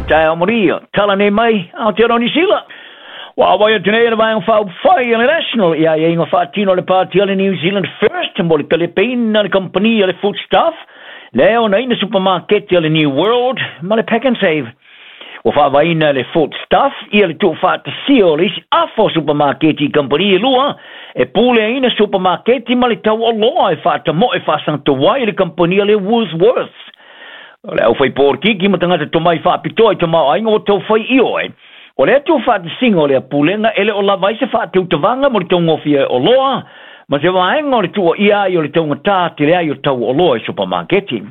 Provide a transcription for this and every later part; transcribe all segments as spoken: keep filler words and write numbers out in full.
Taeao maria, tala nei mai Aotearoa Niu Sila. Ua auai atu nei le Vaega Faaupufai a le National i aiaiga faatino a le Pati a le New Zealand First mo le talepeina le kamupani a le Foodstuff lea e onaina supamaketi a le New World ma le Pack and Save. Ua faavaeina e le Foodstuff ia le tuufaatasia o le isi afa o supamaketi i kamupani e lua e puleaina supamaketi ma le tau oloa e faatamoe faasagatoai i le kamupani a le Woolworths. O le aufaipolitiki ma tagata tomai faapitoa i tamaoaiga ua taufai ioe o lea tuufaatasiga o lea pulega e le o lava ai se faatautavaga mo le taugofie ai oloa ma se vaega o le tuuaia ai o le taugatā tele ai o tau oloa i supamaketi.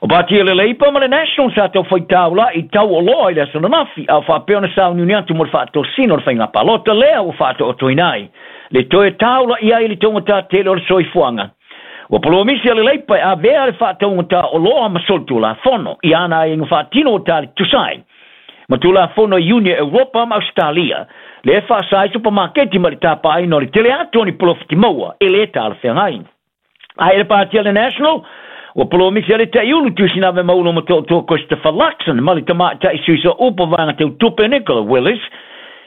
O pati a le Labour ma le National sa taufai taula'i i tau oloa i le aso ananafi, a o faapea ona sauniuni atu mo le faatosina o le faiga palota lea ua faataotoina ai le toe taula'i ai i le taugatā tele o le soifuaga. Ua polomisi a le Labour e avea le faataugatā oloa ma solitulafono i ana aiaiga faatino ua tali tusa ai ma Tulafono i Iuni a Europa ma Ausetalia, lea e faasa ai supamaketi mai le tapaaina o le tele atu o ni polofiti maua e lē talafeagai. Ae i le Pati a le National, ua polomisi a le Taiulu Tusinave Maulo Matoatoa Christopher Luxon ma le Tamaitai Sui Sooupu Vaega Teu Tupe Nicola Willis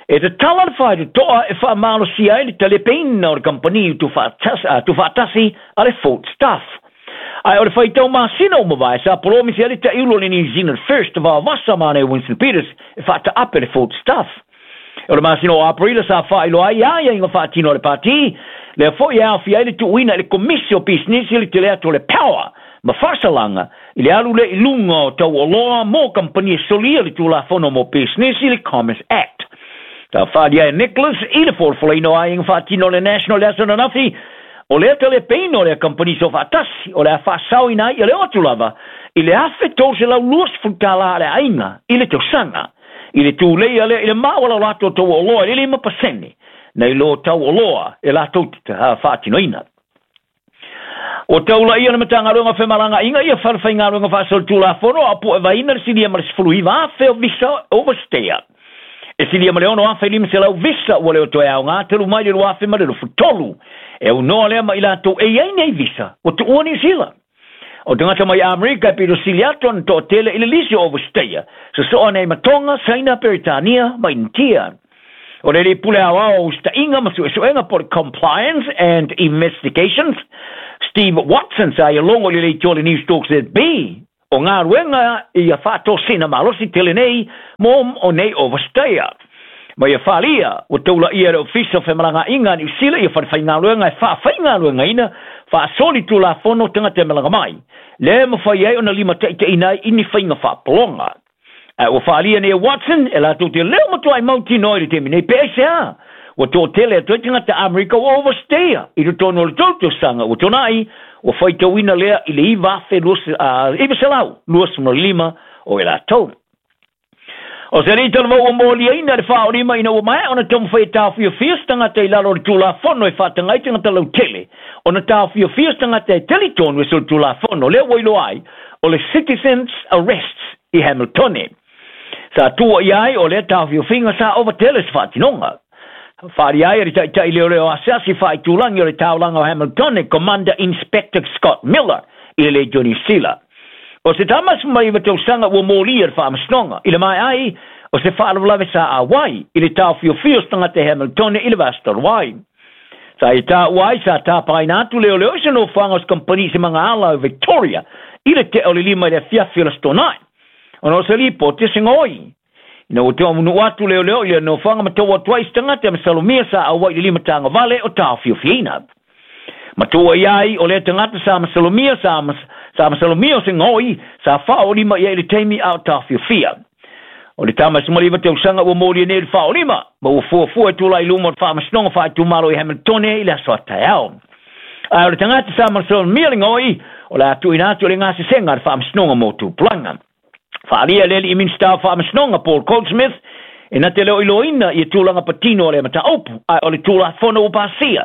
e tatala le faitotoa e faamalosia ai le talepeina o le kamupani tuufaatasi a le Foodstuff. Ae o le faitau masina ua mavae sa polomisi ai le Taiulu o le New Zealand First vaovasa ma ana Winston Peters e faataape le Foodstuff. O le masina o Aperila sa faailoa ai aiaiga faatino a le Pati, lea foi e aofia ai le tuuina i le Komisi o Pisinisi le tele atu o le power ma faasalaga i le alu lea i luga o tau oloa mo kamupani e solia le Tulafono mo Pisinisi, le Commerce Act. Sa faaalia e Nicholas i le folafolaina o aiaiga faatino a le National i le aso ananafi, o lea talepeina o lea kamupani soofaatasi o le a faasaoina ai ia le oo atu lava i le afe tolu selau luasefulu tālā a le aiga i le tausaga, i le tuleia lea i le maualalo atu o tau oloa i le lima pasene nai lo tau oloa e latou te faatinoina. Ua taulaia le Matagaluega o Femalagaaiga ia falefaigaluega faasolitulafono a o puevaina le silia ma le sefulu iva afe o visa overstay. E silia ma le ono afe lima selau visa ua le o toe aoga talu mai le lua afe ma le luasefulu tolu. E aunoa lea ma i latou e i ai nei visa ua tuua Niu Sila. O tagata mai Amerika e pito sili atu ona toatele i le lisi o overstayer, sosoo nei ma Tonga, Saina, Peretania ma Initia. O le alii pule aoao o usitaʻiga ma suʻesuʻega po o le Compliance and Investigations, Steve Watson, sa ia logo i le leitioa o le Newstalk Z B, o galuega ia faatosina malosi tele nei mo o nei overstayer. Ma ia faaalia, ua taulaʻia e le Ofisa o Femalagaaiga a Niu Sila ia falefaigaluega e faafaigaluegaina faasolitulafono tagata e malaga mai, lea e mafai ai ona limataʻitaʻiina ai i ni faiga faapologa. Ae ua faaalia nei e Watson e latou te leo matuai mautinoa i le taimi nei pe aisea ua toatele atu ai tagata Amerika ua overstaya i totonu o le tolu tausaga ua tuanai, ua faitauina lea i le iva afe iva selau luasefulu lima o e latou. O se alii talavou ua moliaina le faaolima ina ua maea ona taumafai e taofiofia se tagata i lalo o le Tulafono e faataga ai tagata lautele ona taofiofia se tagata e talitonu e solitulafono lea ua iloa ai o le Citizens Arrests i Hamiltone. Sa tuuaia ai o lea taofiofiga sa ova tele se faatinoga. Faaalia ai e le taitai leoleo asiasi faaitulagi o le taulaga o Hamiltone, Commander Inspector Scott Miller i le Leitio Niu Sila. O se tama sefulumaiva tausaga ua molia le faamasinoga i le maea ai o se faalavelave sa auai i le taofiofia o se tagata i Hamiltone i le vaiaso talu ai. Sa ia taua ai sa tapaina atu leoleo i se nofoaga o se kamupani i se magaala o Victoria i le tea o le lima i le afiafi o le Aso Toonai, ona o se lipoti a se gaoi. Ina ua taunuu atu leoleo i le nofoaga ma tau atu ai se tagata masalomia sa auai i le lima tagovale o taofiofiina. Matua ia ai o lea tagata sa masalomia sa, sa masalomia o se gaoi sa faaolima i ai i le taimi a o taofiofia. O le tama sefumaliva tausaga ua molia nei i le faaolima ma ua fuafua e tulai i luma o le faamasinoga faaitumalo i Hamiltone i le aso a taeao. Ae o le tagata sa masalomia le gaoi o le a tuuina atu i le gasesega a le faamasinoga mo tupulaga. Faaalia le alii Minisita o Faamasinoga Paul Goldsmith e na te le o iloaina ia tulaga patino o lea mataupu, ae o le Tulafono ua pasia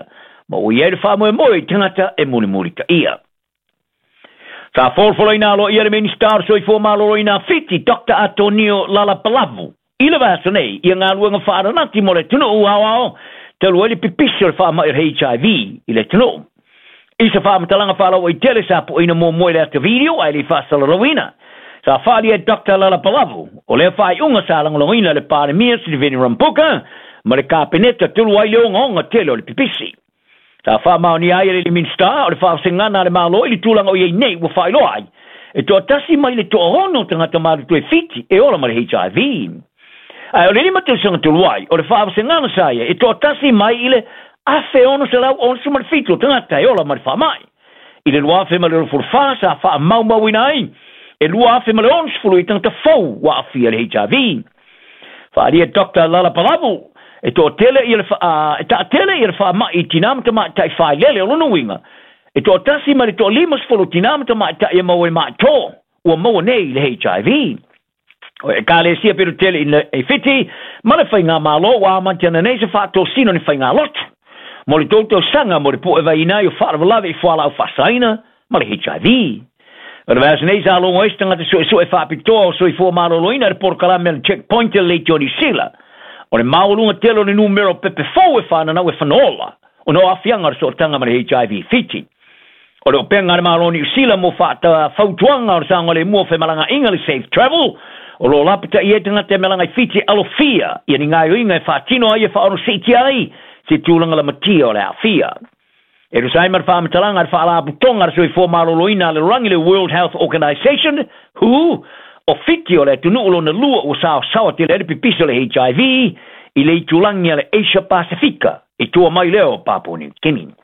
ma ua i ai le faamoemoe i tagata e mulimulitaia. Sa folafolaina aloaia le Minisita o le Soifua Maloloina a Fiti, Doctor Atonio Lalabalavu, i le vaiaso nei ia galuega faaranati mo le atunuu aoao talu ai le pipisi o le faamai o le H I V i le atunuu. I se faamatalaga faalauaitele sa pueina muamua i le ata video ae le i faasalalauina. Sa whaali e Doctor Lalabalavu, o lea whaaiunga sa lagolagoina le Palemia Sitiveni Rambuka, ma le Kapeneta tulu ai le ogaoga tele o le pipisi. Sa faamaonia ai e le Minista o le faavasegana a le Malo i le tulaga o iai nei ua faailoa ai, e toatasi mai le toaono tagata matutua e Fiti e ola ma le H I V. Ae o le lima tausaga tolu ai, o le faavasegana sa ia e toatasi mai i le afe ono selau onosefulu ma le fitu o tagata e ola ma le faamai. I le lua afe ma le luasefulu fa sa faamaumauina ai, e lua afe ma le onosefulu i tagata fou ua aafia le H I V. Faaalia Doctor Lalabalavu, e toatele ia le fa, e taatele ia le faamai i tinā ma tamaitai failele o lona uiga, e toatasi ma le toalimasefulu tinā ma tamaitai e maua e maatō ua maua nei le H I V. O ekalesia pito tele i Fiti, ma le faigāmālō ua amatia nei se faatosina ni faigāloto. Mo le tou tausaga mo le puʻevaina ai o faalavelave i fualaau faasaina ma le H I V. O le vaiaso nei sa logo ai se tagata suesue faapitoa o soifua malōlōina le polokalame a le Checkpoint i le Leitio Niu Sila. O le maualuga tele o le numera o pepe fou e fananau e fanaola, ona o aafiaga o le sootaga ma le H I V Fiti. O le opega a le Malo o Niu Sila mo faatafautuaga o le saogalemu o femalagaaiga le Safe Travel, o lo lapata'i ai tagata e malaga i Fiti alofia ia ni gaoioiga e faatino ai e faaonosiitia ai se tulaga lamatia o le aafia. E tusa ai ma le faamatalaga a le faalapotoga a le soifua malōlōina a le lalolagi le World Health Organization, W H O, o Fiti o le atunuu lona lua ua saosaoa tele ai le pipisi o le H I V i le itulagi a le Asia Pasifika i tua mai lea o Papua New Guinea.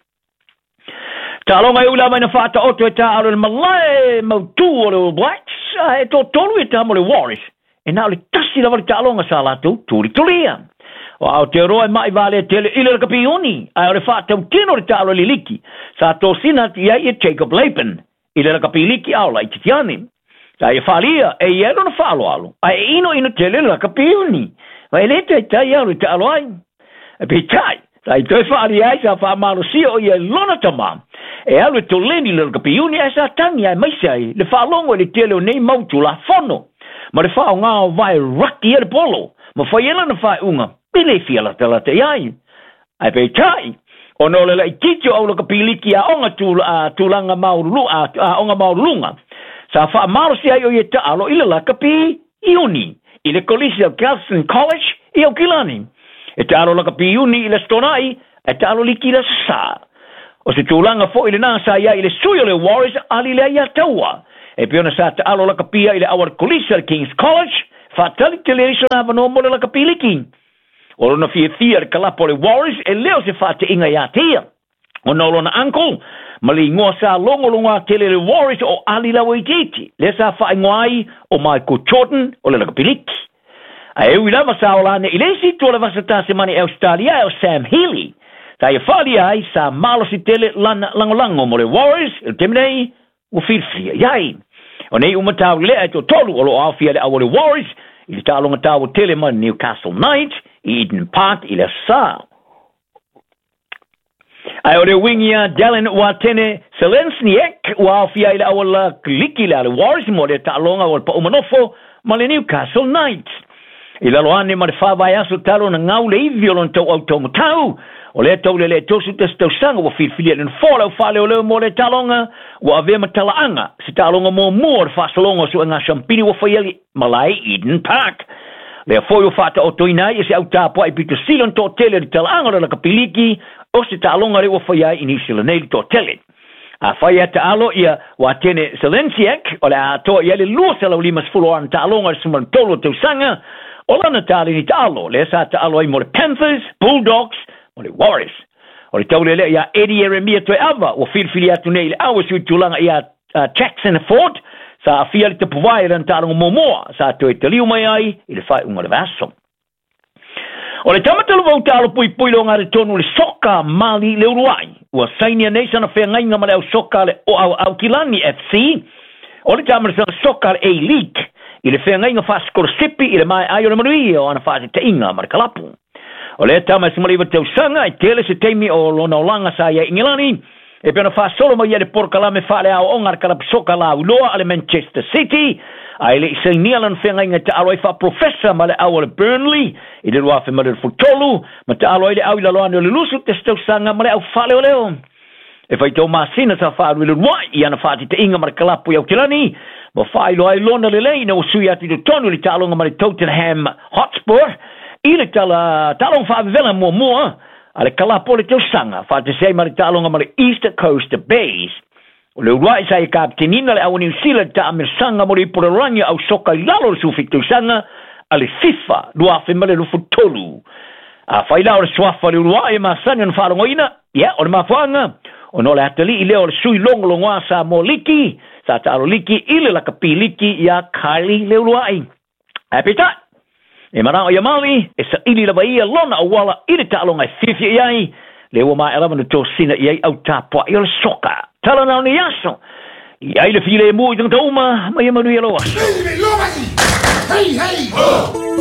Taaloga e ula mai na faataoto e taalo le malae mautū o le All Blacks, ae toatolu e tama o le Warriors, e na o le tasi lava le taaloga sa latou tulitulia. O Aotearoa e mai valea tele i le lakapi ae o le faatautino le taalo le liki, sa tosina atu i ai e Jacob Laban i le lakapi liki ao laititiane. Sa ia faalia e ia lona faaloalo, ae e ino ino tele le lakapi uni. Ma e le taitai au le taalo ai. E peitai, sa i toe faalia ai sa faamalosia o ia lona tamā. E alu e toleni le lakapi uni ae sa tangi ae maise ai le faalogo i le tele o nei mau tulafono. Ma le faaaogā o vae raki e le polo, ma fai e lana faaiuga, e le fia latalata i ai. Ae peitai, ona o le laititi o au lakapiliki aoga tulaga aoga maualuluga, sa faamalosi ai o ia taalo i le lakapi iuni, i le kolisi o Galston College i Aukilani. E taalo lakapi iuni i le Stonai, e taalo liki i le Sasā. O se tulaga foʻi lenā sa iai i le sui o le Warriors ali lea ia taua. E pei ona sa taalo lakapia i le au a le kolisi a le King's College, faatali tele ai sona avanoa mo le lakapiliki. O lona fiafia le kalapo o le Warriors e leo se faateiga iā te ia. Ona o lona uncle, ma le igoa sa logologo tele le Warriors o Ali Lauitiiti, lea sa faaigoa ai o Michael Jordan o le lakapiliki. Ae ui lava sa ola ane i le isi itu o le vasa tasemani e Australia e o Sam Healy. Sa ia faalia ai sa malosi tele lana lagolago mo le Warriors, i le taimi nei ua filifilia i ai. O nei uma taulelea e toatolu o loo aofia le au o le Warriors i le taaloga taua tele ma Newcastle Knights i Eden Park i le aso Sā. Ae o le uiga ia Dallin Watene Selensniak ua aofia i le au la liki le a le Warriors mo le taaloga o le paumanofo ma le Newcastle Knights. I lalo ane ma le faavaiaso talo na gau le ivi o lona tauau taumatau, o lea taulelea tosu tasi tausaga ua filifilia le nofoa le aufaaleoleo mo le taaloga ua avea ma talaaga se taaloga muamua o le faasologa o suega sampini ua faia i malae Eden Park. Lea foi ua faataotoina ai e se autapuaʻi pito sili ona toatele o le talaaga o le lakapiliki o se taaloga lea ua faia ai i Niu Sila nei le toatele. Afai e taalo ia Watene Selensiak o le atoa i ai le lua selau limasefulu o ana taaloga i le sefulu ma le tolu o tausaga, o lana taleni taalo lea sa taalo ai mo le Panthers, Bulldogs mo le Warriors. O le taulelea ia Eddie Ieremia Toeava ua filifili atu nei i le au e sui tulaga ia uh, Jackson Ford sa aafia le tapuvae i lana taaloga muamua sa toe taliu mai ai i le faaiuga o le vaiaso. O le tamataluvau taalo puipui le ogaletonu le soka mali le uluai ua sainia nei sana feagaiga ma le au soka le o au Aukilani F C o le tamasala soka le A-League i le feagaiga faasikolasipi i le maeai o le manuia o ana faatetaiga ma le kalapu. O lea tama e sefumaliva tausaga e tele se taimi o lona olaga sa ia i Ingilani e pei ona faasolo mai ia le polokalame faaleaoaoga a le kalapu soka lauiloa a le Manchester City, ae le i sainia lana feagaiga e taalo ai faaprofesa ma le au o le Burnley i le lua afe ma le tolu, ma taalo ai le au i lalo ane o le lusu tasi tausaga ma le au faaleoleo. E faitau masina sa faalu i le luaʻi i ana faatetaiga ma le kalapu i Aukilani, Ma faailoa ai lona lelei ina ua sui atu i totonu i le taaloga ma le Tottenham Hotspur i le tala taaloga faavevela muamua a le kalapo o le tausaga, faatasi ai ma le taaloga ma le East Coast Bays. O Leuluai sa e kapitenina le au Niu Sila i le taamilosaga mo le ipu lalolagi o ausoka i lalo o le sefulufitu tausaga a le FIFA lua afe ma le luasefulu tolu. Afai la o le suafa o Leuluai e masani ona faalogoina, ia, o le mafuaaga, ona o le atalii lea o le sui logologoa Samoa Liki, sa taalo liki i le lakapi liki iā Kylie Leuluai. Ae peitai, e manao ia Maui e saili lava ia lona auala i le taaloga e fiafia i ai, lea ua maea lava ona tosina i ai au tapuai o le soka. Tala na o nei aso, i ai le filemu i tagata uma, ma ia manuia lou aso. Hey, hey, ho!